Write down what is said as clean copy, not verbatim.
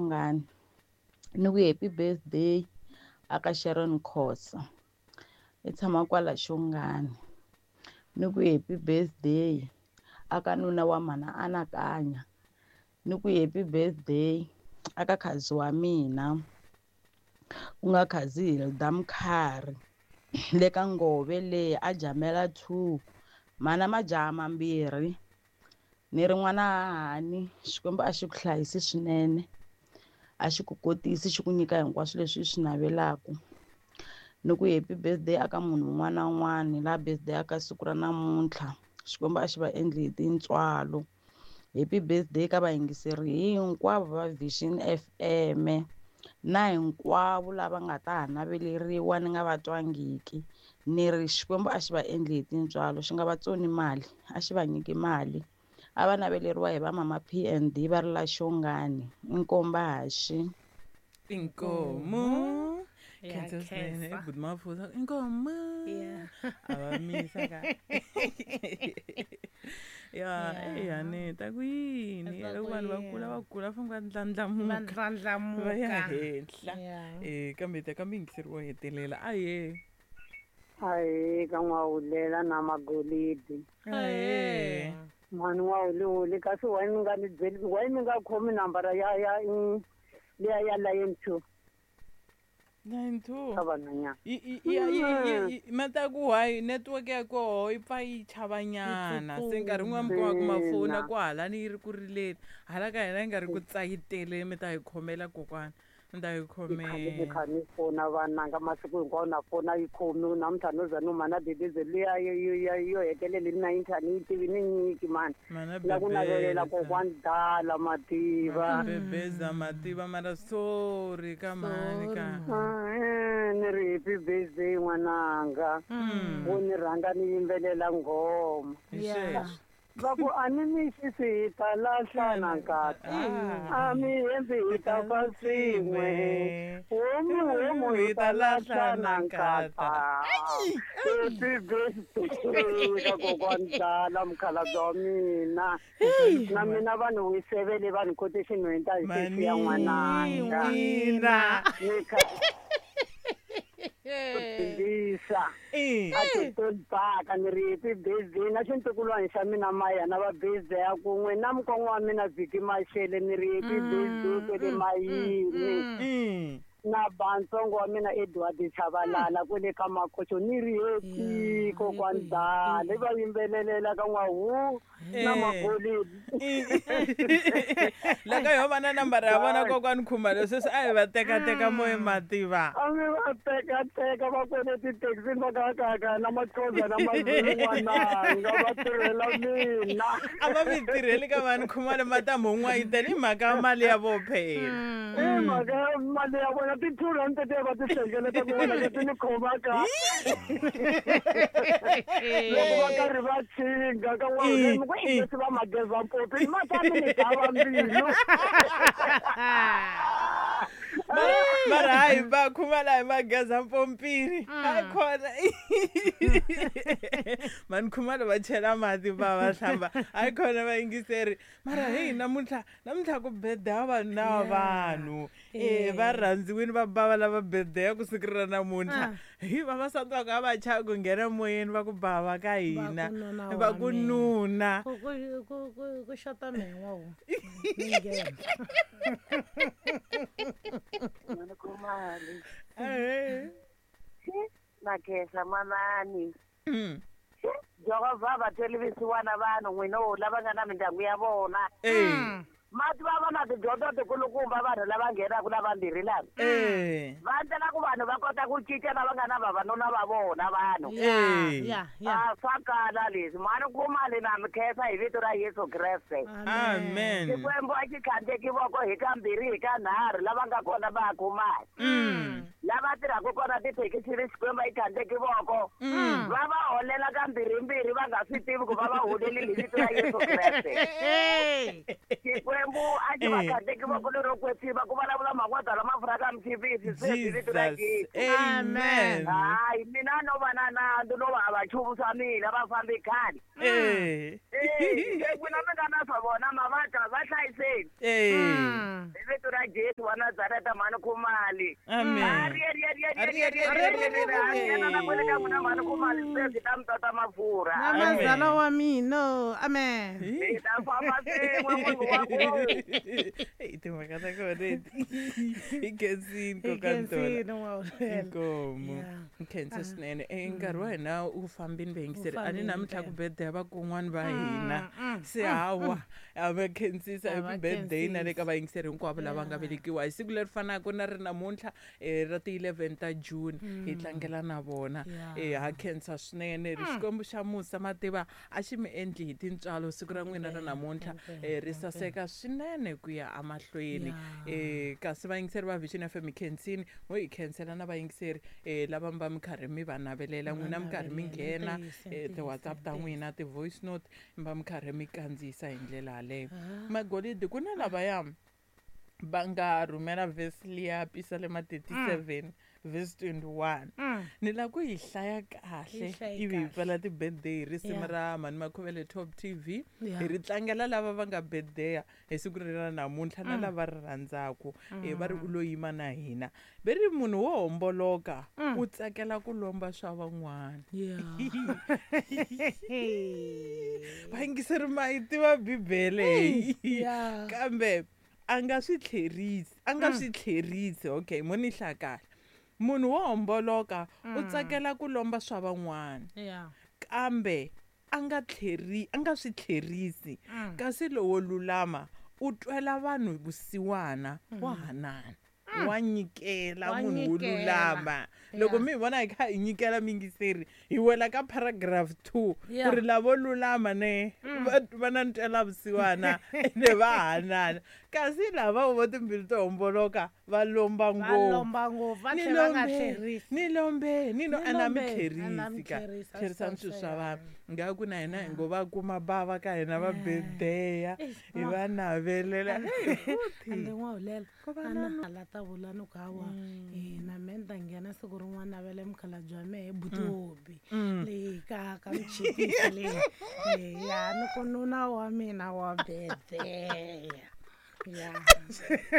Xongani. Ni ku happy birthday aka Sharon Khosa i tshama kwala Xongani. Ni ku happy birthday aka nuna wa mana Anakanya. Ni ku happy birthday aka khazi wa mina ku nga khazi Hilda Mkhari le ka Ngove leyi a jamela 2 mana majaha mambirhi. Ni ri n'wana hahani, Xikwembu a xi ku hlayisi swinene, a xi ku kotisi, xi ku nyika hinkwaswo leswi i swi navelaka. Ni ku happy birthday aka munhu un'wana na un'wana laha birthday aka siku ra namuntlha, Xikwembu a xi va endli hi tintswalo. Happy birthday ka vayingiseri hinkwavo va Vision FM na hinkwavo lava nga ta ha naveleriwa ni nga va twangiki. Ni ri Xikwembu a xi va endli hi tintswalo, xi nga va tsoni mali, a xi va nyiki mali. A va naveleriwa hi va mama P&D va ri la Xongani, Inkomba haxi. Inkomo. Ya Khensa swinene. khensa. Good Mafuza. Inkomo. Yeah. A va misa ka. Ya, Yeah. eya ni ta ku yini? Ta Loko ku vanhu va kula yini? va kula famba va ndlandlamuka. Va ndlandlamuka. Va ya henhla. Yeah. Kambe ta ka muyingiseri wo hetelela. Ahee. Ahee ka n'wawulela na magolidi. Ahee. Mhani n'wawuliwuli kasi why mi nga ni byeli, why mi nga khomi nambara ya ya liya ya line 2? Line 2. Ka vanhwanyana. Ma ta ku why network ya koho yi pfa yi chavanyana. Se nkarhi wun'wana mi kuma ku mafoni Ina. ku halani yi ri ku rileni, hala ka hina yi nga ri ku tsayiteleni, mi ta hi khomela kokwana, mi ta hi Ni khale ni khomela. kha ni fona vananga masiku hinkwawo na fona yi khomiwi namuntlha no za no mana dedeze liya yo hetelela ni namuntlha ni yi tivi ni nyiki mani. Mana La ku navelela bebeza. kokwani dala mativa. Bebeza mativa mara sorry ka mhani ka. Ni ri happy birthday n'wananga. Wo ni rhanga ni yimbelela nghoma. Hi sweswo. Va ku a ni mixisi hi ta lahlana nkata. A mi hembi hi ta fa swin'we. Homu homu hi ta lahlana nkata. Happy birthday ka kokwani dala mukhalabye wa mina. Na mina vanhu wisevele vanhu kote xinhwenta hi sesi ya n'wananga. Mina. Ni kha dyondzisa. A ti tolibaka ni ri happy birthday na xintukulwana xa mina Maya na va birthday ya kun'we na mukon'wa wa mina Viki Mashele ni ri happy birthday kwele Mayini. Na bantsongo wa mina Edward Chabalala kwele ka Makocho ni ri happy kokwani dala i va yimbelelela ka n'wahu na magolidi. Loko ho va na nambara ya vona kokwani Khumalo sweswi a hi va tekateka moya mativa. A mi va tekateka va kwele tithekisini va ka na Maxhosa na Mazulu n'wananga va tirhela mina. A va mi tirheli ka vanhu Khumalo matamu n'wayitela hi mhaka ya mali ya vo phela. I mhaka ya mali ya vona ti-2 rand tetiya va ti hlengeleta kun'wana leti ni khomaka. Loko va karhi va chinga ka n'wana mi ku i leswi va mageza mpopi matami ni dava mbilu. Mara hayi va Khumalo hi mageza mpompini. Hayi khona. Mani Khumalo va chela mati va va hlamba. Hayi khona vayingiseri. Mara hey namuntlha namuntlha ku birthday vanhu na vanhu. Va rhandziwini va bava lava birthday ku siku ra namuntlha. Hi vavasati va ka va chava ku nghena moyeni va ku bava ka hina. Va ku nuna. Ku xota mehe n'wawu. Ni nghena. Mali. Na khensa manani. Jehovha va tweli visiwana vanhu n'wina wo lava nga na mindyangu ya vona. Mati va va na tidyondzo tikulukumba vanhu lava nghenaka lavambirhi lava. Va endlela ku vanhu va kota ku cinca lava nga na vavanuna va vona vanhu. A swa kala leswi. Mhani Khumalo na mi khensa hi vito ra Yesu Kreste. Amen. Xikwembu a xi khandzeki voko hi kambirhi hi kanharhu lava nga kona va Khumalo. Lava tirhaka kona tithekisini Xikwembu a yi khandzeki voko. Va va holela ka mbirhimbirhi va nga swi tivi ku va va holelile hi vito ra Yesu Kreste. Xikwembu a xi va khandzeki voko lero kwetsima ku vulavula mangwata lama pfuraka mchivisi se hi vito ra Yesu. Amen. Hayi mina no va na nandzu no va va chumu swa mina va fambi khale. N'wina mi nga na swa vona mavata va hlayiseni. Hi vito ra Jesu wa Nazareta mhani Khumali. Amen. Namazala wa mina. Amen. Timhaka ta kona leti hi khensini kokantola inkomu khensa swinene. Nkarhi wa hina wu fambini vayingiseri a ni namuntlha ku birthday ya vakon'wana va hina se hawa a va khensisa happy birthday na le ka vayingiseri hinkwavo lava nga velekiwa hi siku leri fanaka na ri namuntlha ra ti 11 ta June hi tlangela na vona. Ha khensa swinene ri Xikwembu xa musa mativa a xi mi endli hi tintswalo siku ra n'wina ra namuntlha ri saseka swinene ku ya emahlweni. Kasi vayingiseri va Vision FM khensini mo hi khensela na vayingiseri lava mi va mi karhi mi va navelela n'wina mi karhi mi nghena ti-WhatsApp ta n'wina ti-voice note mi va mi karhi mi kandziyisa hi ndlela yaleyo. Magolidi ku na lavaya va nga rhumela verse liya Pisalema 37 verse 21 ni la ku yi hlaya kahle ivi hi pfala ti-birthday hi risimu ra Mhani Makhuvele Top TV hi ri tlangela lava va nga birthday hi siku ri ra namuntlha na lava ri rhandzaku va ri u lo yima na hina ve ri munhu wo homboloka u tsakela ku lomba swa van'wana. Vayingiseri ma yi tiva Bibele kambe a nga swi tlherisi a nga swi tlherisi. Okay, mo ni hlaya kahle. Munhu wo homboloka u tsakela ku lomba swa van'wana kambe a nga tlheri a nga swi tlherisi kasi lowo lulama u twela vanhu vusiwana wa hanana wa nyikela munhu wo lulama. Loko mi hi vona hi kha hi nyikela mingiseri hi wela ka paragraph 2 ku ri lavo lulama ne va na ntwela vusiwana ene va hanana kasi lava vo timbilu to homboloka va lomba ngopfu ni lombe ni no ana mi tlherisi ka tlherisani swilo swa vanhu ngaku na hina hi ngo va kuma bava ka hina va birthday hi va navelela. Ana ta vula ni ku hawa na me ni ta nghena siku rin'wana navele mukhalabye wa mehe buti leyi ka ka mchipisi leyi ya ni ku nuna wa mina wa birthday.